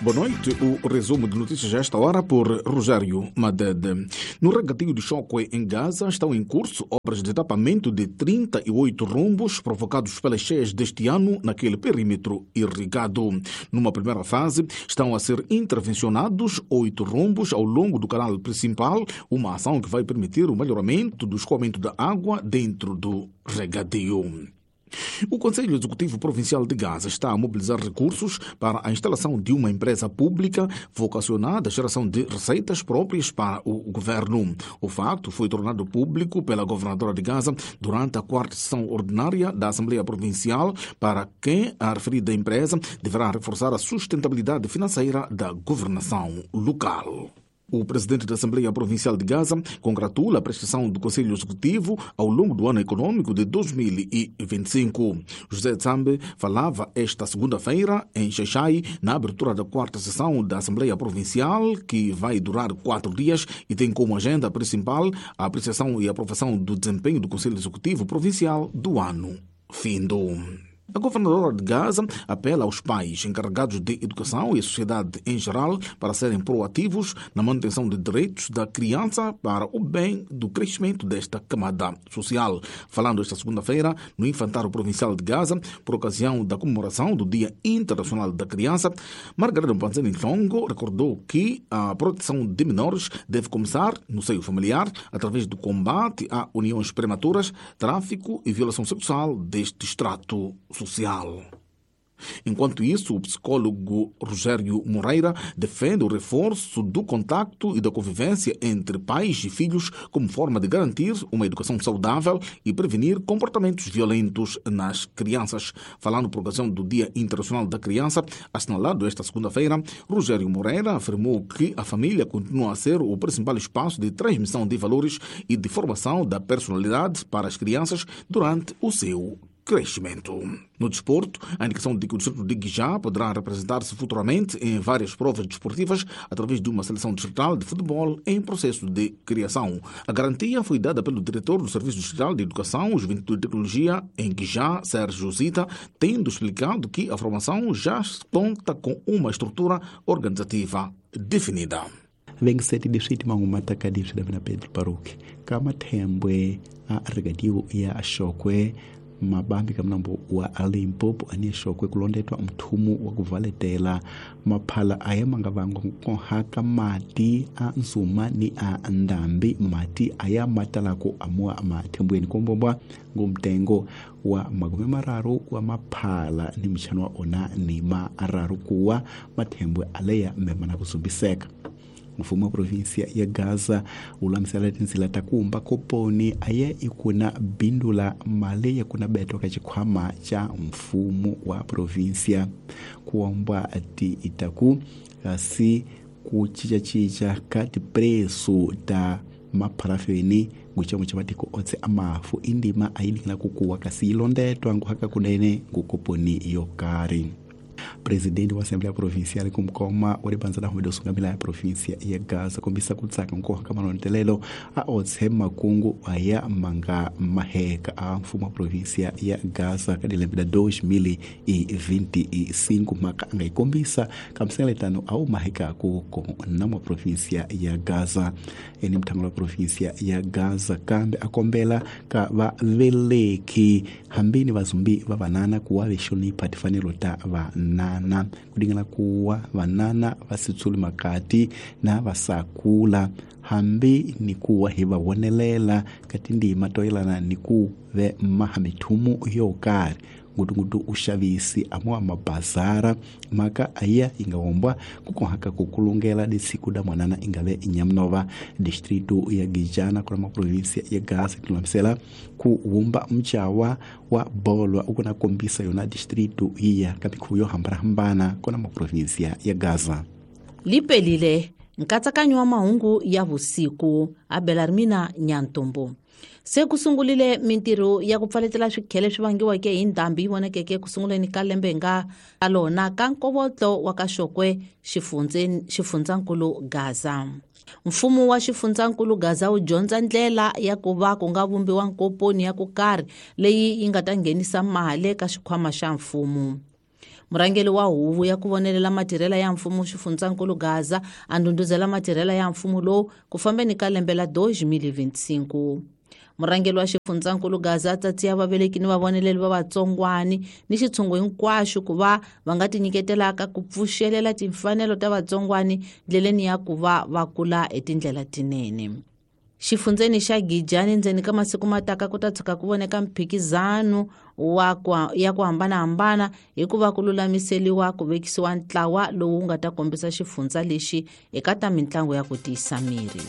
Boa noite. O resumo de notícias a esta hora por Rogério Madede. No regadio de Chókwè, em Gaza, estão em curso obras de tapamento de 38 rombos provocados pelas cheias deste ano naquele perímetro irrigado. Numa primeira fase, estão a ser intervencionados 8 rombos ao longo do canal principal, uma ação que vai permitir o melhoramento do escoamento da água dentro do regadio. O Conselho Executivo Provincial de Gaza está a mobilizar recursos para a instalação de uma empresa pública vocacionada à geração de receitas próprias para o governo. O facto foi tornado público pela governadora de Gaza durante a quarta sessão ordinária da Assembleia Provincial, para quem a referida empresa deverá reforçar a sustentabilidade financeira da governação local. O presidente da Assembleia Provincial de Gaza congratula a prestação do Conselho Executivo ao longo do ano econômico de 2025. José Tsambe falava esta segunda-feira em Xaixai, na abertura da quarta sessão da Assembleia Provincial, que vai durar 4 dias e tem como agenda principal a apreciação e aprovação do desempenho do Conselho Executivo Provincial do ano findo. A governadora de Gaza apela aos pais encarregados de educação e a sociedade em geral para serem proativos na manutenção de direitos da criança para o bem do crescimento desta camada social. Falando esta segunda-feira no Infantário Provincial de Gaza, por ocasião da comemoração do Dia Internacional da Criança, Margarida Mpanzani Nhlongo recordou que a proteção de menores deve começar no seio familiar, através do combate a uniões prematuras, tráfico e violação sexual deste estrato social. Enquanto isso, o psicólogo Rogério Moreira defende o reforço do contacto e da convivência entre pais e filhos como forma de garantir uma educação saudável e prevenir comportamentos violentos nas crianças. Falando por ocasião do Dia Internacional da Criança, assinalado esta segunda-feira, Rogério Moreira afirmou que a família continua a ser o principal espaço de transmissão de valores e de formação da personalidade para as crianças durante o seu crescimento. No desporto, a indicação de que o distrito de Guijá poderá representar-se futuramente em várias provas desportivas através de uma seleção distrital de futebol em processo de criação. A garantia foi dada pelo diretor do Serviço Distrital de Educação, Juventude e Tecnologia em Guijá, Sérgio Zita, tendo explicado que a formação já conta com uma estrutura organizativa definida. Vengiseti distrito mangumata ka distrito da Pedro Paruque kama thembwe a regadio ya Chókwè mabambi ka mnambo wa Limpopo ane Chókwè kulondetwa mthumu wa kuvaletela maphala aya manga vangwa nkohaka mati a nsuma ni a ndambi mati aya matalako amua mathembweni kombombwa ngumtengo wa 30 wa maphala ni mchano wa ona ni mararu kuwa mathembwe aleya mmemana kuzumbiseka. Mfumo wa província ya Gaza ulamisela tinzila takumba koponi aye ikuna bindula mali yakuna beto ka chikhwama cha mfumo wa província kuombwa ati itaku kasi kuchichachicha ka tipreso ta mapharafeni nguchamo cha matiko otse amafu indima ayidingila kukuwa kasi ilondetwa nguhaka kunene ngukoponi yokari. Presidente wa Assembleia Provincial kumkoma wa libanza la humedo sungamila ya província ya Gaza kombisa kutsaka nkoha ka manontelelo a otse makungu aya manga maheka a mfumo wa província ya Gaza ka dilembe la 2025 maka anga ikombisa ka msengeletano au maheka ku na mwa província ya Gaza eni mthango wa província ya Gaza kambe akombela ka va veleki hambini vazumbi va vanana kuwa vexonipha tifanelo ta va nana kudingela kuwa vanana vasitsuli makati na vasakula hambi ni kuwa hi va vonelela ka tindima to yelana ni ku ve maha mithumu yo karhi ngutungutu uxavisi amuwa mabazara maka aya inga wombwa kukohaka kukulungela disiku da mwanana ingave inyamunova distrito ya Gijana kuna maprovinsia ya Gaza tilulamisela ku wumba mchawa wa bolwa ukuna kombisa yona distrito iya ka mikhuvo yo hambanahambana kuna maprovinsia ya Gaza. Lipelile nkatsakanyo wa mahungu ya vusiku a Belarmina Nyantombo. Se ku sungulile mintirho ya ku pfaletela swikhele swi vangiweke hi ndhambi yi vonakeke ku sunguleni ka lembe nga lona ka nkovotlo wa ka Chókwè xifundzankulu Gaza. Mfumo wa xifundzankulu Gaza wu dyondza ndlela ya ku va ku nga vumbiwa nkoponi ya ku karhi leyi yi nga ta nghenisa mali ka xikhwama xa mfumo. Murhangeri wa huvo ya ku vonelela matirhela ya mfumo xifundzankulu Gaza a ndhundhuzela matirhela ya mfumo lowu ku fambeni ka lembe la 2025. Murhangeri wa xifundzankulu Gaza a tsatsiya vaveleki ni vavoneleli va vatsongwani ni xitshungu hinkwaxo ku va va nga tinyiketelaka ku pfuxelela timfanelo ta vatsongwani ndleleni ya ku va va kula hi tindlela tinene. Xifundzeni xa Gijani ndzeni ka masiku mataka ku ta tshuka ku voneka mphikizano wa ya ku hambanahambana hikuva ku lulamiseliwa ku vekisiwa ntlawa lowu nga ta kombisa xifundza lexi eka ta mitlangu ya ku tiyisa miri.